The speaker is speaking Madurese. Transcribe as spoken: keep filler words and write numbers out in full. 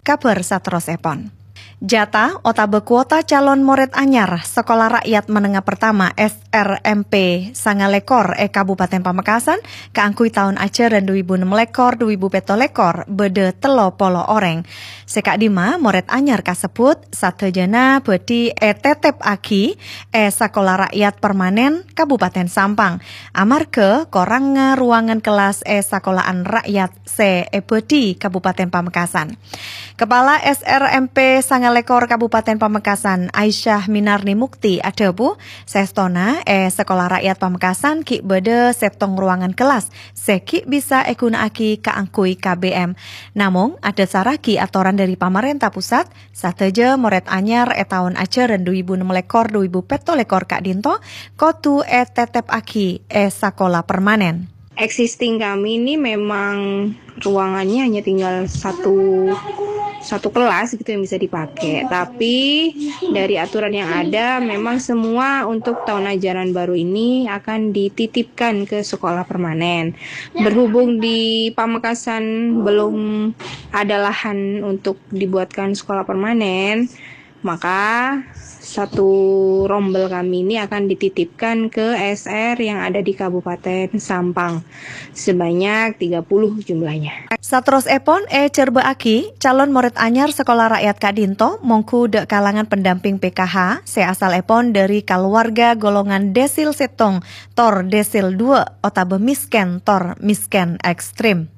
Kabhâr saterrossèpon. Jata otabâ kuota calon morèd anyar Sekolah Rakyat Menengah Pertama S R M P sangalèkor è Kabupaten Pamekasan kaangghuy taon ajhârân du èbu ennem lèkor du èbu pètto lèkor bâdâ tello polo orèng. Sè ka'dimma morèd anyar kasebbhut sadhâjâna bhâdhi ètètèpaghi è Sekolah Rakyat Permanen Kabupaten Sampang, amarghâ korangnga ruangan kellas è sakola'an rakyat sè èbhâdhi Kabupaten Pamekasan. Kepala S R M P sangalèkor Kabupaten Pamekasan, Aisyah Minarni Mukti, adhâbu, saèstona è Sekolah Rakyat Pamekasan ghi' bâdâ sèttong ruangan kellas sè ghi' bisa èghuna'aghi kaangghuy K B M. Namong, adhâsarraghi atoran dhâri pamarènta pusat, sadhâjâ morèd anyar è taon ajhârân du èbu ennem lèkor du èbu pètto lèkor ka'dinto kodhu ètètèpaghi è sakola permanen. Existing kami ini memang ruangannya hanya tinggal satu satu kelas gitu yang bisa dipakai. Tapi dari aturan yang ada, memang semua untuk tahun ajaran baru ini akan dititipkan ke sekolah permanen. Berhubung di Pamekasan belum ada lahan untuk dibuatkan sekolah permanen, maka satu rombel kami ini akan dititipkan ke S R yang ada di Kabupaten Sampang sebanyak tiga puluh jumlahnya. Saterrossèpon èjhârbâ'âghi, calon morèd anyar sekolah rakyat ka'dinto mongghu dâ' kalangan pendamping P K H sè asalèpon dhâri kaluwarga golongan desil sèttong tor desil duwâ' otabâ miskin tor miskin ekstrem.